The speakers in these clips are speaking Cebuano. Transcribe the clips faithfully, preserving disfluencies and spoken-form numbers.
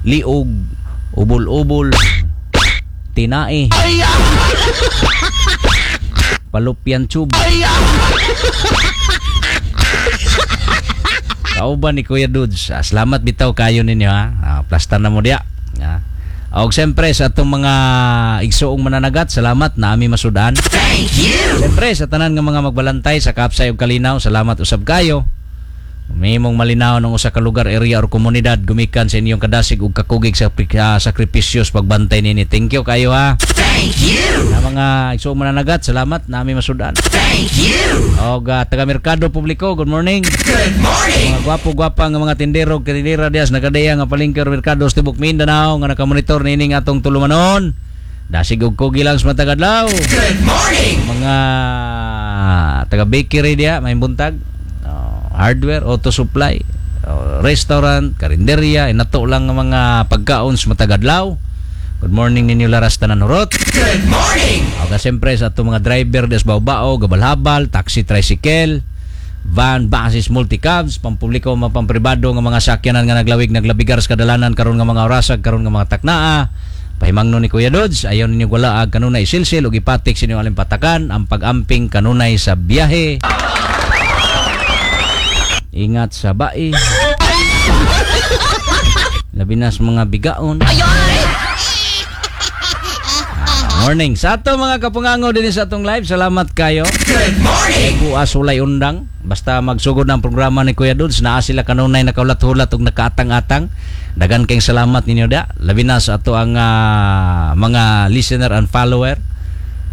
Liog, ubol-ubol, tinae, fallopian tube. Kauban ni Kuya Dudes. Ah, salamat bitaw kayo ninyo ha. Ah, plastar na mo diya. Ah. Og siyempre sa atong mga igsuong mananagat, salamat na ami masudan. Thank you. Siyempre sa tanan nga mga magbalantay sa Kapsay ug Kalinaw, salamat usab kayo. Mahimong malinaw ng usa ka lugar, area or komunidad gumikan sa inyong kadasig ug kakugig sa uh, sakripisyo sa pagbantay nini. Thank you kayo ha. Thank you. Sa mga igsuong mananagat, salamat na ami masudan. Thank you. Og uh, taga Merkado Publiko, good morning. Good morning. Mga gwapo-gwapa nga mga tindero, tindera dias nakadeya nga palengke or merkado sa tibok Mindanao nga nakamonitor nining atong tulumanon. Dasig og kugi lang sa matag adlaw. Good morning. Mga taga bakery diya, may buntag, oh, hardware, auto supply, oh, restaurant, karinderya, inato lang ang mga pagkaon sa matag adlaw. Good morning ninyo laras tanan hurot. Good morning. O siyempre sa atong mga driver des bao-bao, gabal-habal, taxi, tricycle, van, buses, multicabs, pampubliko, mga pampribado nga mga sakyanan nga naglawig naglabigar sa kadalanan karon nga mga orasag karon nga mga taknaa. Pahimangno ni Kuya Dodge, ayaw ninyo walaag kanunay silsil ug ipatik sa inyong alimpatakan ang pag-amping kanunay sa biyahe. Ingat sa bai. Labi na sa mga bigaon. Morning. Sa ato mga kapungango din sa atong live, salamat kayo. Good morning. Buas sulay undang. Basta magsugod ng programa ni Kuya Dudes, naa sila kanunay nakaulat-hulat ug nakaatang-atang. Dagan kayong salamat ninyo da. Labi na sa ato ang ah, mga listener and follower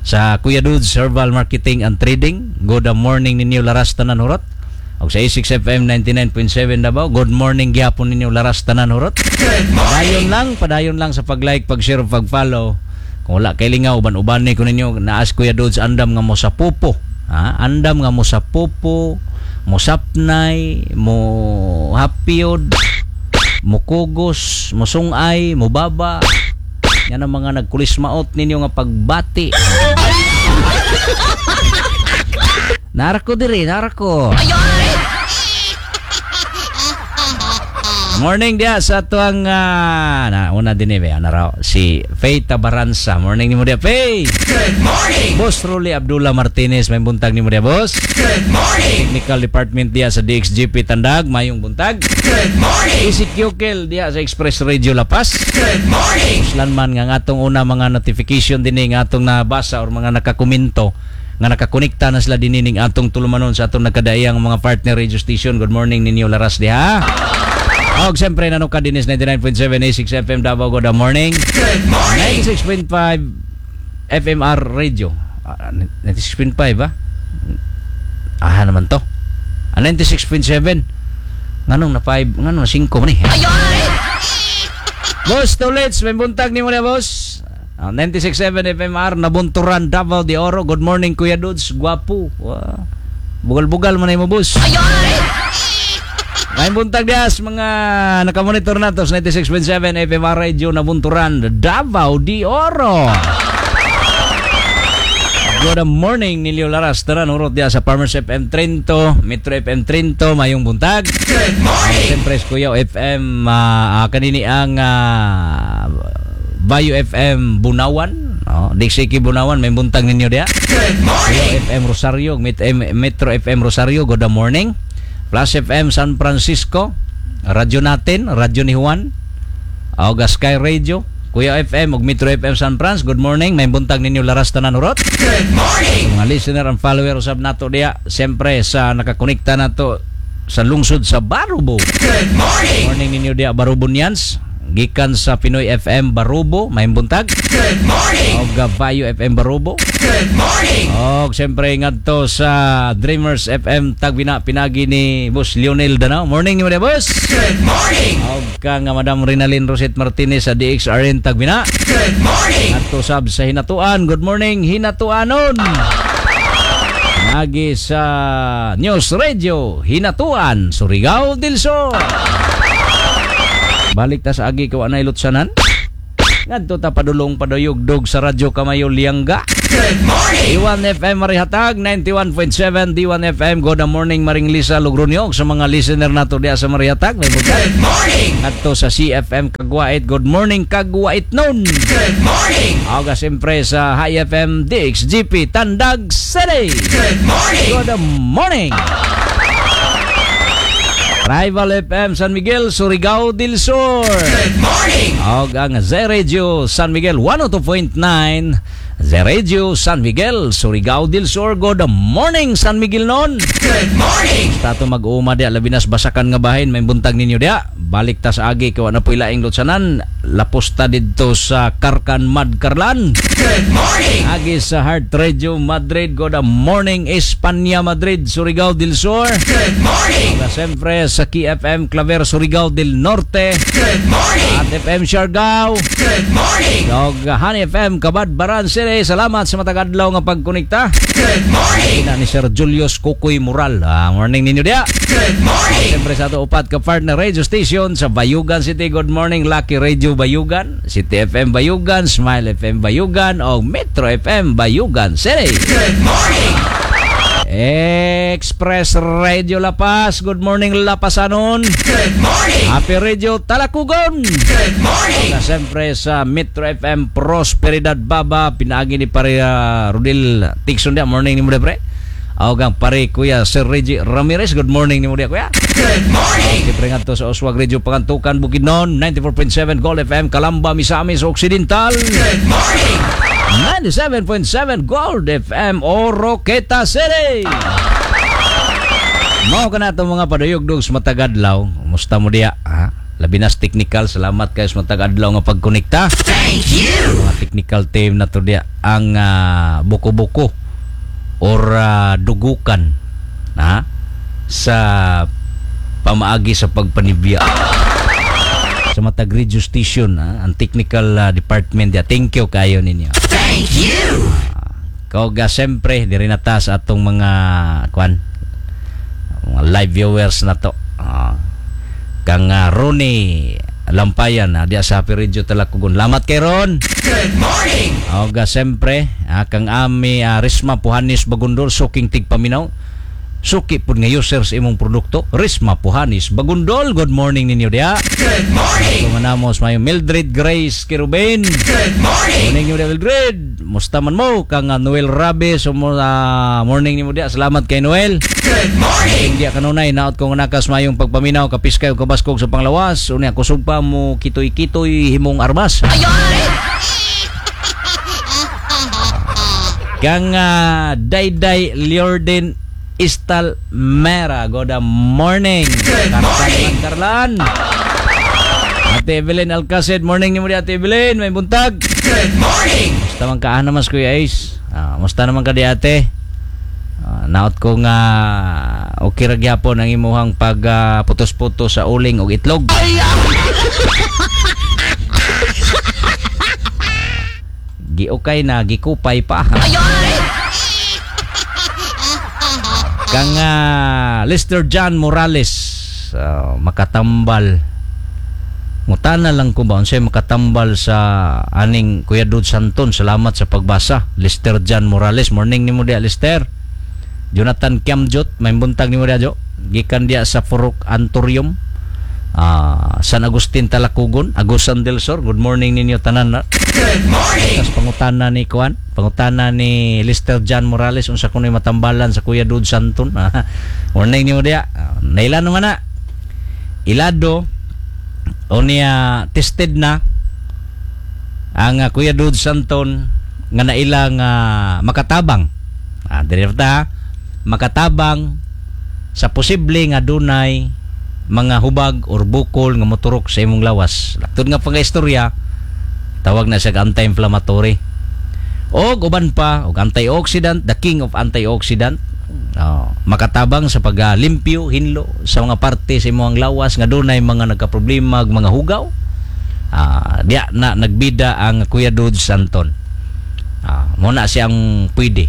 sa Kuya Dudes Herbal Marketing and Trading. Good morning ninyo laras tanan hurot. Og sa A six F M ninety-nine point seven Davao, good morning gyapon ninyo laras tanan hurot. Good morning. Padayon lang, padayon lang sa pag-like, pag-share, pag-follow. Kung wala kay lingaw, uban-uban ko ninyo, naas Kuya Dudes andam nga mo sa pupo. Ha? Andam nga mo sa pupo, mo sapnay, mo hapiyod, mo kugos, mo sungay, mo baba. Yan ang mga nagkulismaot ninyo nga pagbati. Nara ko diri, nara ko. Morning dia sa tuang uh, na una din eh ana raw si Faye Tabaranza. Morning nimo dia, Faye. Good morning. Boss Rolly Abdullah Martinez, may buntag nimo dia, boss. Good morning. Technical Department dia sa D X G P Tandag, mayong buntag. Good morning. Easy Kyukel dia sa Express Radio La Paz. Good morning. Uslan man nga ngatong una mga notification dinhi nga atong nabasa or mga nakakomento nga nakakonekta na sila dinhi ning atong tulumanon sa atong nagkadaiyang mga partner radio station. Good morning ninyo laras diha. Og siyempre nanuka dinis ninety-nine point seven A six F M Davao. Good morning. Good morning. ninety-six point five F M R Radio. Ah, ninety-six point five ba? Ah, naman to. Ah, ninety-six point seven. Nganong na five, nganong na five man eh. Boss Tolits, may buntag ni mo na boss. Ah, ninety-six point seven F M R Nabunturan Davao de Oro. Good morning Kuya Dudes, gwapo. Wow. Bugal-bugal man mo boss. May buntag dias mga nakamonitor nato sa ninety-six point seven F M R Radio Nabunturan Davao de Oro. Good morning Nilio Laras. Tara nurot diya sa Farmers F M Trento, Metro F M Trento, mayong buntag. Good morning. Siyempre Kuya F M uh, uh, kanini ang uh, Bayo F M Bunawan, oh, Dixiki Bunawan, may buntag ninyo diya. Good morning. Kuya F M Rosario, Metro F M Rosario, good morning. Plus F M San Francisco, radyo natin, radyo ni Juan, Auga Sky Radio, Kuya F M ug Metro F M San Francisco, good morning. May buntag ninyo laras tanan urot. Good morning. Mga listener and follower usab nato diya, siyempre sa nakakonekta nato sa lungsod sa Barubo. Good morning. Morning ninyo diya Barubonians. Gikan sa Pinoy F M Barubo, may buntag. Good morning. Og Bayo F M Barubo. Good morning. Og siyempre ngadto sa Dreamers F M Tagbina pinagi ni Boss Lionel Danao. Morning nimo diya, boss. Good morning. Og ka nga Madam Rinalyn Roset Martinez sa D X R N Tagbina. Good morning. Ngadto sab sa Hinatuan. Good morning Hinatuanon. Nagi sa News Radio Hinatuan, Surigao del Sur. Balik ta sa agi ko anay lutsanan. Ngadto ta padulong paduyugdog sa Radyo Kamayo Lianga. Good Good morning. D one F M Marihatag ninety-one point seven, D one F M. Good morning, Maring Lisa Logronyo, sa mga listener nato diya sa Marihatag. May buntag. Good morning. Adto sa C F M Kagwait. Good morning, Kagwait nun. Good morning. Aga siyempre sa High F M D X G P Tandag City. Good morning. Good morning. Rival F M San Miguel, Surigao del Sur. Good morning. Og ang Z Radio San Miguel one oh two point nine, Z Radio San Miguel, Surigao del Sur. Good morning, San Miguel nun. Good morning. Tato mag-uuma diya, labi nas basakan nga bahin, may buntag ninyo diya. Balik ta sa agi kay wa na po'y laing lutsanan. Lapos ta didto sa Karkan Madkarlan. Good morning. Agi sa Heart Radio Madrid. Good morning, Espanya, Madrid, Surigao del Sur. Good morning. Ug siyempre sa K F M Claver, Surigao del Norte. Good morning. At F M Siargao. Good morning. Ug Honey F M Cabadbaran City. Salamat sa matag adlaw nga pagkonekta. Good morning. Ina ni Sir Julius Kukoy Mural. Ah, morning ninyo diya. Good morning. Siyempre sa ato upat ka partner radio station sa Bayugan City. Good morning, Lucky Radio Bayugan, City F M Bayugan, Smile F M Bayugan o Metro F M Bayugan City. Good morning. Express Radio La Paz. Good morning, Lapasanon. Good morning. Happy Radio Talakugon. Good morning. Na siyempre sa Metro F M Prosperidad Baba, pinaagi ni pare uh, Rodel Tixon dia. Morning nimo pre. Og ang pare Kuya Sir Reggie Ramirez. Good morning nimo dia, kuya. Good morning. Siyempre ngadto sa Uswag Radio Pangantukan Bukidnon ninety-four point seven, Gold F M Calamba Misamis Occidental Good morning. ninety-seven point seven Gold F M Oroquieta City. Mao ka na itong mga paduyugdog sa matag adlaw. Kumusta mo diya? Ha? Labi nas technical. Salamat kayo sa matag adlaw nga pagkonekta. Thank you. Mga technical team na to diya. Ang ah, buko-buko or ah, dugukan, ha? Sa pamaagi sa pagpanibya sa matag radio station, ha? Ang technical ah, department diya. Thank you kayo ninyo. Thank you. Koga siyempre diri na ta sa atong mga kwan, mga live viewers na to. Ah. Kang uh, Ronnie Lampayan na diya sa Happy Radio Talakugon. Lamat kay Ron. Good morning. Oga siyempre ah, kang ami ah, Risma Puhanis Bagundol, suking tigpaminaw. Suki pud nga user sa imong produkto. Risma Puhanis Bagundol. Good morning ninyo diya. Good morning. Kumanamos mayo Mildred Grace Kirubin. Good morning. Morning nimo diya, Mildred. Musta man mo kang uh, Noel Rabe so mo uh, morning nimo diya. Salamat kay Noel. Good morning. Hindi kanunay naot ko nga nakas mayong pagpaminaw kapiskay ug kabaskog sa panglawas. Unya kusog pa mo kitoy-kitoy himong armas. Kang uh, Dayday Liorden Istal Mera. Good morning. Good morning. Karlan. Ate Evelyn Alcacid, morning nimo di, Ate Evelyn, may buntag. Good morning. Musta man ka naman, Kuya Ace? Ah, musta naman ka di, ate? Ah, naot ko nga okay ra gyapon ang imuhang pag ah, putos-putos sa uling og itlog. Giukay na, gikupay pa. Kang ah, Lester John Morales, ah, makatambal. Mutana lang ko ba unsay makatambal sa aning Kuya Dud Santon. Salamat sa pagbasa. Lester John Morales, morning nimo diya, Lester. Jonathan Kiamjot, may buntag nimo diya, Jo. Gikan diya sa Furuk Antorium. Ah, San Agustin Talakugon, Agusan del Sur. Good morning ninyo tanan na. Good morning. Tapos pangutana ni Kuan, pangutana ni Lester John Morales unsa kuno'y matambalan sa Kuya Dud Santon. Morning nimo diya. Ah, Naila naman na. Ilado o niya tested na ang uh, Kuya Dud Santon nga naila nga makatabang. Ah, diri ta makatabang sa posible nga dunay mga hubag or bukol nga moturok sa imong lawas. Laktod nga pang istorya, tawag na siya anti-inflammatory. Og uban pa og antioxidant, the king of antioxidant. Oh, makatabang sa pagalimpyo, hinlo sa mga parte sa imong lawas nga dunay mga nagkaproblema ug mga hugaw. Ah, diya na nagbida ang Kuya Dudes Santon. Ah, mo na siyang pwede.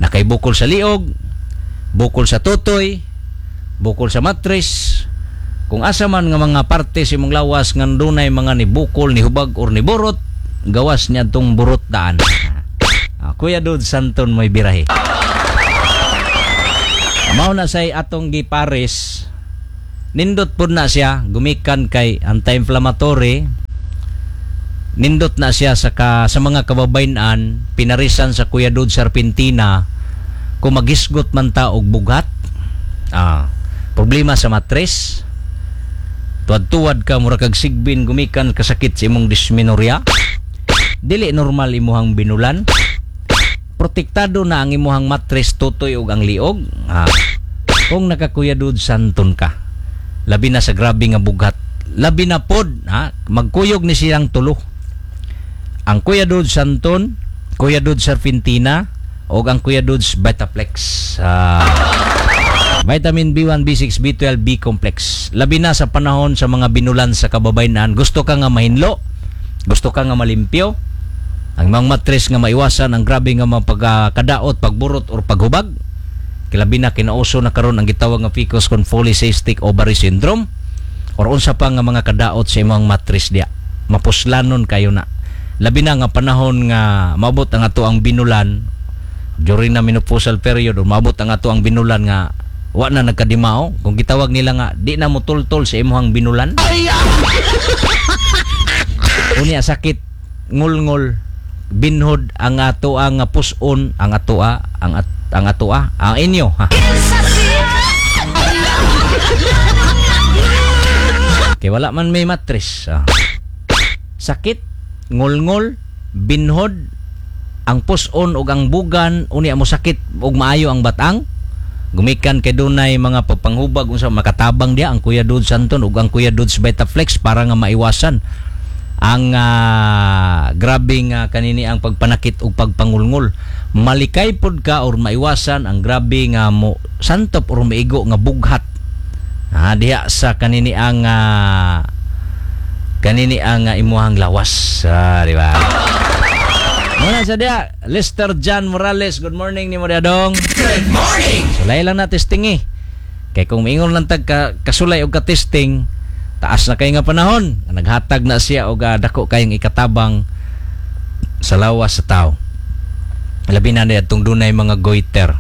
Nakay bukol sa liog, bukol sa tutoy, bukol sa matris, kung asa man nga mga parte sa imong lawas nga dunay mga ni bukol, ni hubag or ni burot, gawas niya tong burot daan. Ah, Kuya Dudes Santon mo'y birahe. Mao na say atong gipares. Nindot pud na siya gumikan kay anti-inflammatory. Nindot na siya sa ka, sa mga kababayen-an, pinarisan sa Kuya Dudes Serpentina kung magisgot man ta og bughat. Ah, problema sa matres. Tuwad-tuwad ka mura kag sigbin gumikan kasakit sa imong dysmenorrhea. Dili normal imuhang binulan. Protektado na ang imuhang matres, tutoy ug ang liog. Ah, kung nakakuya Dudes Santon ka. Labi na sa grabe nga bughat. Labi na pod, ha, magkuyog ni silang tulo. Ang Kuya Dudes Santon, Kuya Dudes Serpentina, o ang Kuya Dudes Vitaplex. Ah, vitamin B one, B six, B twelve, B complex. Labi na sa panahon sa mga binulan sa kababayen-an, gusto ka nga mahinlo, gusto ka nga malimpyo, ang mga matres nga maiwasan ang grabe nga mga pagkadaot, pagburot or paghubag. Kilabi na kinauso na karon ang gitawag nga P C O S kon polycystic ovary syndrome or unsa pa nga mga kadaot sa imong matres diya. Mapuslanon kayo na. Labi na nga panahon nga maabot ang ato ang binulan during na menopausal period or maabot ang ato ang binulan nga wa na nagkadimao, kung gitawag nila nga di na mutultol sa imong binulan. Unya sakit ngulngol, binhod ang ato ang puson, ang atoa ang at, ang atoa ang inyo, ha. Kay wala man may matres, ah. Sakit ngulngol, binhod ang puson ug ang bugan, unya mo sakit ug maayo ang batang gumikan kay dunay mga pagpanghubag, unsa makatabang diya ang Kuya Dudes Santon ug ang Kuya Dudes Vitaflex para nga maiwasan ang uh, grabe nga kanini ang pagpanakit ug pagpangulngol. Malikay pod ka or maiwasan ang grabe nga mo santop or maigo nga bughat, ha, diha sa kanini ang uh, kanini ang uh, imuhang lawas, ah, di ba? Muna sa diya, Lester John Morales, good morning nimo diha, dong. Good morning. Sulay lang na testing eh. Kay kung miingon lang tag ka, kasulay og ka-testing, taas na kay nga panahon. Naghatag na siya og uh, dako kayong ikatabang sa lawas sa tao. Labi na niya itong dunay mga goiter.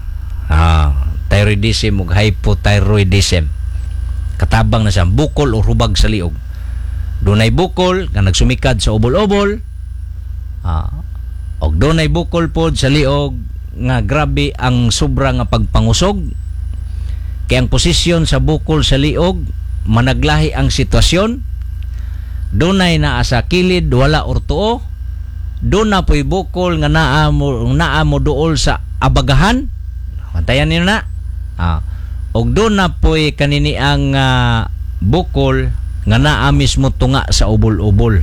Ah, thyroidism ug hypothyroidism. Katabang na siya bukol o hubag sa liog. Dunay bukol nga nagsumikad sa ubol-ubol. Ah, og dunay bukol pod sa liog nga grabe ang sobra nga pagpangusog. Kay ang posisyon sa bukol sa liog managlahi ang sitwasyon. Dunay naa sa kilid, wala or tuo. Doon na po'y bukol nga naa mo, naa mo duol sa abagahan. Bantayan niyo na. Ah. Og doon na po'y kanini ang ah, bukol nga naa mismo tunga sa ubol-ubol.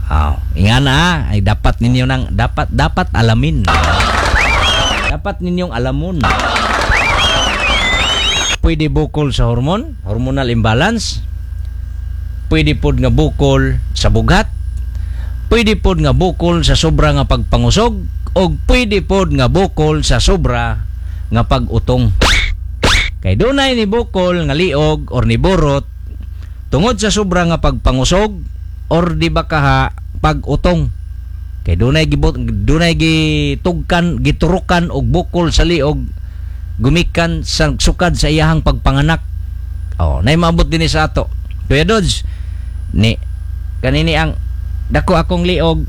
Ah, inga na ah, ay dapat ninyo nang dapat dapat alamin. Dapat ninyong alamon. Pwede bukol sa hormone, hormonal imbalance. Pwede pod nga bukol sa bughat. Pwede pod nga bukol sa sobra nga pagpangusog o pwede pod nga bukol sa sobra nga pag-utong. Kay dunay ni bukol nga liog or ni burot tungod sa sobra nga pagpangusog or di ba kaha pag-utong. Kay dunay gibot dunay gitugkan, giturukan og bukol sa liog gumikan sa sukad sa iyahang pagpanganak. Oh, nay maabot dinhi sa ato. Kuya Dodge, ni kanini ang dako akong liog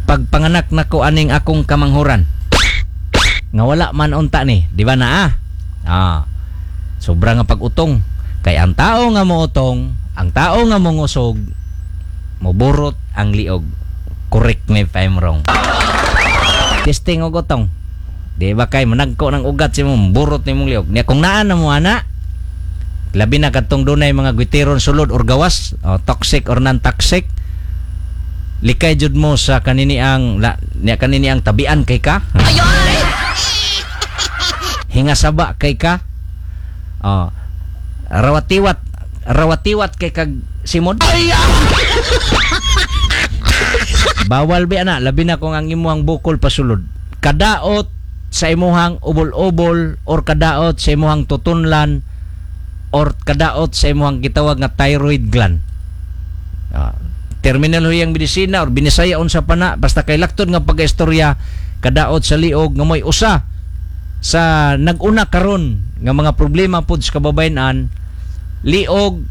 pagpanganak nako aning akong kamanghuran. Nga wala man unta ni, di ba na ah? Ah. Sobra nga pag-utong. Kay ang tao nga moutong, ang tao nga mongusog, moburot ang liog. Correct me if I'm wrong. Testing og utong. Di ba kay managko ng ugat si mo, burot nimong liog. Niya kung naa na mo ana, labi na kadtong dunay mga gwiteron sulod or gawas, o toxic or non-toxic, likay jud mo sa kanini ang la, niya kanini ang tabian kay ka. Hinga saba kay ka. Oh. Rawatiwat, rawatiwat kay kag simod. Bawal bi ana, labi na kung ang imuhang bukol pasulod. Kadaot sa imuhang ubol-ubol or kadaot sa imuhang tutunlan or kadaot sa imuhang gitawag nga thyroid gland. Ah, Terminolohiyang medisina or binisaya unsa pa na, basta kay laktod nga pagkaistorya kadaot sa liog nga mo'y usa sa nag-una karon nga mga problema pod sa kababayen-an, liog,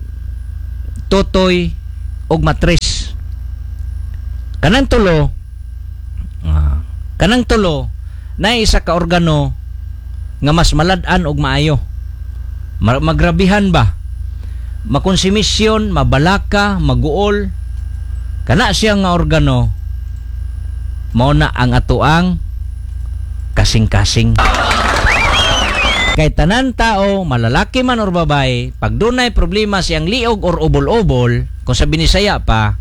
totoy ug matres. Kanang tulo, ah, kanang tulo na isa ka organo nga mas malad-an og maayo. Ma- magrabihan ba? Makonsumisyon, mabalaka, maguol. Kana siya nga organo mao na ang atoang kasing-kasing. Kay tanan tao, malalaki man or babae, pag dunay problema siyang liog or ubol-ubol, kung sa Binisaya pa,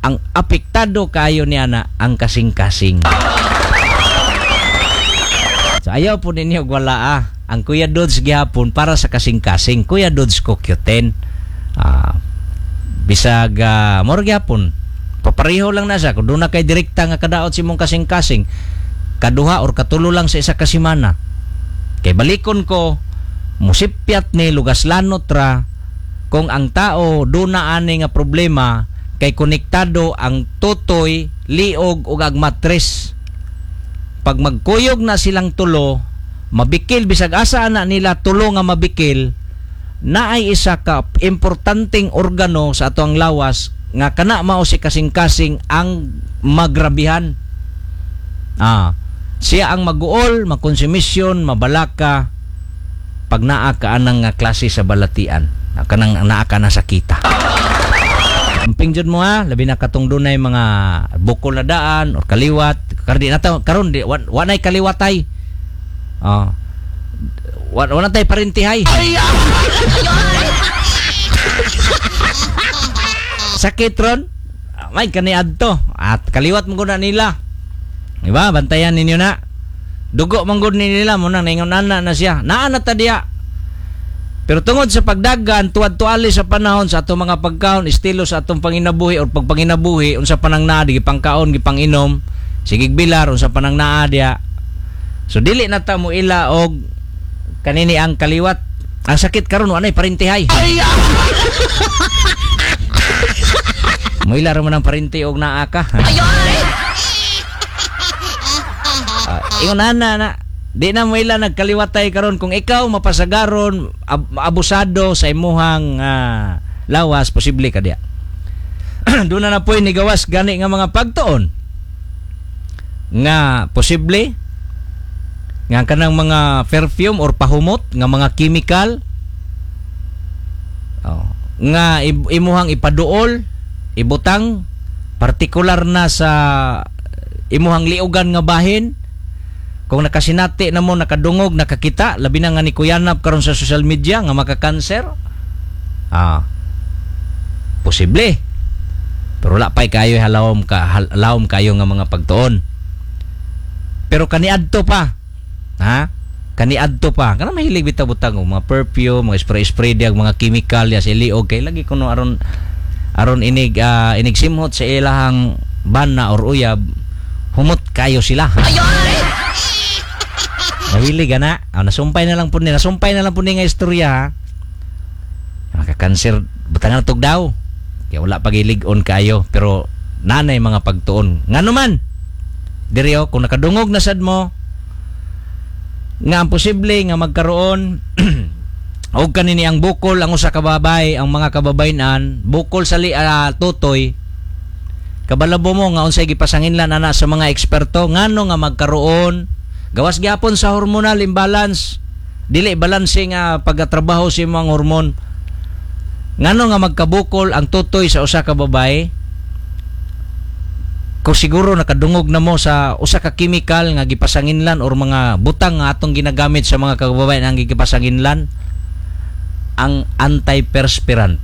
ang apektado kayo niya na ang kasing-kasing. So ayaw po ninyo wala ah. Ang Kuya Dodds gihapon para sa kasing-kasing. Kuya Dodds ko Q ten. Ah, bisag uh, moro gihapon. Papareho lang na siya. Kung doon na kay direkta nga kadaot si mong kasing-kasing, kaduha or katulo lang sa isa ka semana. Kay balikon ko, musipyat ni lugas lanot ra kung ang tao doon na ani nga problema kay konektado ang tutoy, liog ug ang matres. Pag magkuyog na silang tulo, mabikil bisag asa ana nila tulo nga mabikil, naay isa ka importanteng organo sa ato ang lawas nga kana mao si kasing-kasing ang magrabihan. Ah, siya ang maguol, makonsumisyon, mabalaka pag naa ka anang nga klase sa balatian, kanang naa ka na sakita. Amping jud mo ha, labi na katong dunay mga bukol na daan or kaliwat, karon di na ta karon di wa, wa nay kaliwatay. Ah. Wa, wa na tay parintihay. Sakit ron. May kani adto at kaliwat mo gud na nila. Di ba? Bantayan ninyo na. Dugo man gud ni nila mo nang ningon ana na siya. Naa na ta diya. Pero tungod sa pagdagan, tuwad-tuali sa panahon sa atong mga pagkaon, estilo sa atong panginabuhi or pagpanginabuhi, unsa pa nang naa, di gipangkaon, gipanginom, sigig bilar, unsa pa nang naa diya. So dili na ta mo ila og kanini ang kaliwat. Ang sakit karon wa nay parintihay. Mo ila ra man ang parinti og naa ka. Uh, ingon ana na di na mo ila nagkaliwatay karon kung ikaw mapasagaron ab- abusado sa imuhang uh, lawas, posible ka diya. Doon na na po'y nigawas gani nga mga pagtuon nga posible nga kanang mga perfume or pahumot nga mga chemical, oh, nga imuhang ipaduol, ibutang partikular na sa imuhang liugan nga bahin. Kung nakasinati na mo, nakadungog, nakakita, labi na nga ni Kuyanap karon sa social media nga makakanser, ah, posible. Pero wala pa'y kayo halawom ka, halawom kayo nga mga pagtuon. Pero kaniadto pa, ha? Kaniadto pa. Kana mahilig bitaw butang og mga perfume, mga spray-spray diag, mga chemical ya sa liog kay lagi kuno aron aron inig uh, inig simhot sa ilahang bana or uyab, humot kayo sila. Mahilig ana. Oh, nasumpay na lang po ni, nasumpay na lang po ni nga istorya ha. Makakanser butangan tug daw. Kaya wala pagilig-on kayo pero nanay mga pagtuon. Ngano man? Diri oh, kung nakadungog na sad mo nga ang posible nga magkaroon og kanini ang bukol ang usa ka babae, ang mga kababayen-an, bukol sa li, uh, tutoy. Kabalabo mo nga unsay gipasanginlan ana sa mga eksperto ngano nga magkaroon gawas gyapon sa hormonal imbalance, dili balanse nga pagkatrabaho sa imong hormone. Ngano nga magkabukol ang tutoy sa usa ka babae? Kung siguro nakadungog na mo sa usa ka chemical nga gipasanginlan or mga butang nga atong ginagamit sa mga kababayan ang gipasanginlan, ang antiperspirant.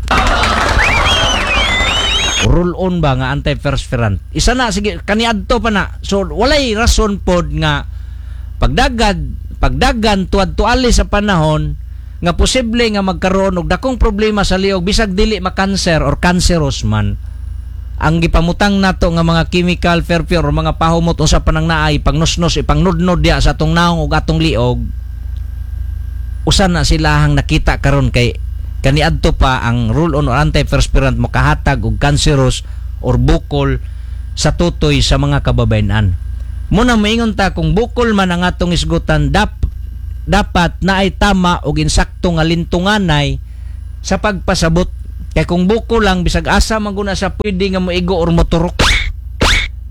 Roll on ba nga antiperspirant? Isa na sige kaniadto pa na. So walay rason pod nga pagdagad pagdagan tuad-tuali sa panahon nga posible nga magkaroon og dakong problema sa liog bisag dili makanser or cancerous man. Ang gipamutang nato nga mga chemical perfume or mga pahumot unsa pa nang naay pangnusnos ipangnudnod diya sa atong naong ug atong liog, usa na sila ang nakita karon kay Kaniadto pa ang roll on or antiperspirant makahatag og cancerous or bukol sa tutoy sa mga kababayenan. Muna moingon ta, kung bukol man ang atong isgutan, dap, dapat naay tama og insakto nga lintunganay sa pagpasabot, kay kung bukol lang, bisag asa man guna sa pwede nga moigo or moturok.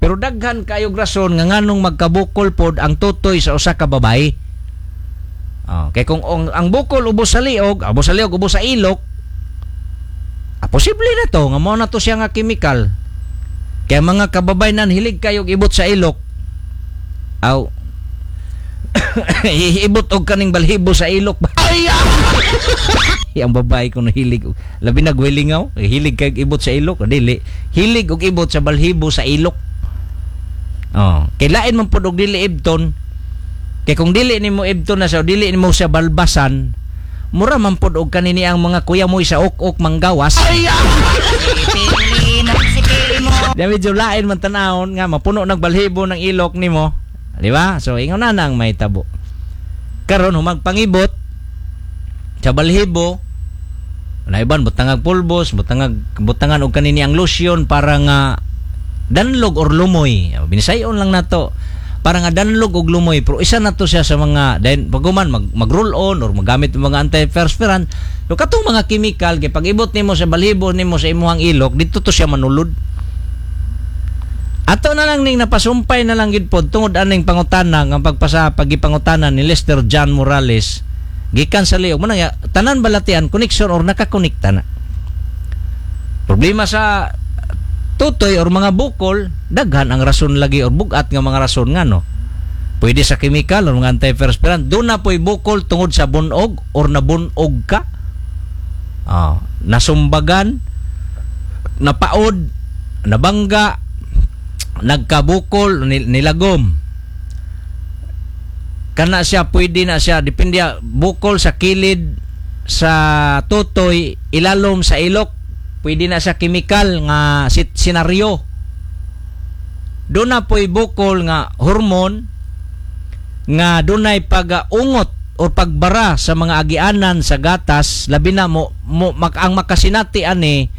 Pero daghan kayo rason nga nganong magkabukol pod ang tutoy sa usa ka babae. Oh, kay kung ang, ang bukol ubos sa liog, ubos sa liog, ubos sa ilok, ah, posible na to nga mao na to siya nga chemical. Kaya mga kababayenan, hilig kayo ibot sa ilok. Aw. Ibot og kaning balhibo sa ilok ba? Ay! Ang babae ko hilig, labi na gwilingaw, hilig kay ibot sa ilok, dili. Hilig og ibot sa balhibo sa ilok. Oh, kay lain man pud og dili ibton. Kay kung dili nimo ibton na siya, dili nimo siya balbasan, mura man pud og kanini ang mga kuya mo sa ok-ok manggawas. Ay! Di medyo lain man tanawon nga mapuno ng balhibo ng ilok nimo. Di ba? So ingon na nang may tabo. Karon humagpangibot sa balhibo, naiban butangag pulbos, butangag butangan og kanini ang lotion para nga danlog or lumoy. Binisayon lang nato para nga danlog og lumoy, pero isa na to siya sa mga then paguman mag, mag roll on or magamit ng mga antiperspirant. So katong mga chemical, kay pag ibot nimo sa balhibo nimo sa imuhang ilok, dito to siya manulod. Ato na lang ning napasumpay na lang gid pod tungod aning pangutana nga pagpasa pagipangutana ni Lester John Morales gikan sa liog mo na nga, tanan balatian connection or nakakonekta na. Problema sa tutoy or mga bukol, daghan ang rason lagi or bugat nga mga rason nga no. Pwede sa chemical or mga antiperspirant. Doon na po'y bukol tungod sa bunog or nabunog ka. Ah, nasumbagan, napaod, nabangga, nagkabukol, nil- nilagom. Kana siya, pwede na siya, depende bukol sa kilid sa tutoy, ilalom sa ilok, pwede na sa chemical nga sit senaryo. Doon na po'y bukol nga hormone nga dunay pag-ungot o pagbara sa mga agianan sa gatas, labi na mo, mo mak, ang makasinati ani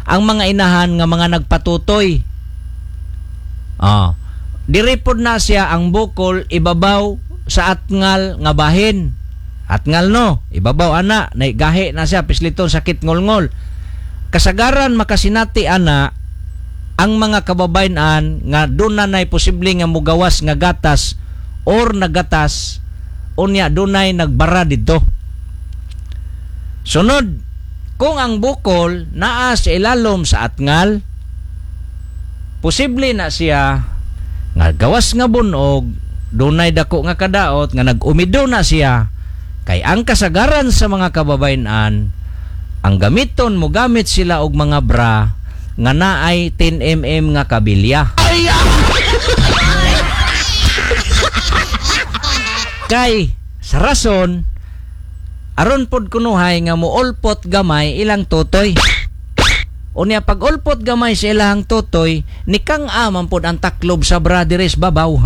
ang mga inahan nga mga nagpatutoy. Ah. Diri pod na siya ang bukol ibabaw sa atngal nga bahin. Atngal no, ibabaw ana, naigahi na siya pisliton sakit ngolngol. Kasagaran makasinati ana ang mga kababayan nga doon na nay posible nga mugawas nga gatas or nagatas, unya dunay nagbara didto. Sunod, kung ang bukol naa sa ilalom sa atngal, posible na siya nga gawas nga bunog, dunay dako nga kadaot nga nag-umido na siya, kay ang kasagaran sa mga kababayan ang gamiton mo gamit sila og mga bra nga naay ten millimeters nga kabilya. Kay sa rason aron pod kunuhay nga muulpot gamay ilang tutoy. Unya pag ulpot gamay sa ilang tutoy, nikang aman pod ang taklob sa bra diri sa babaw.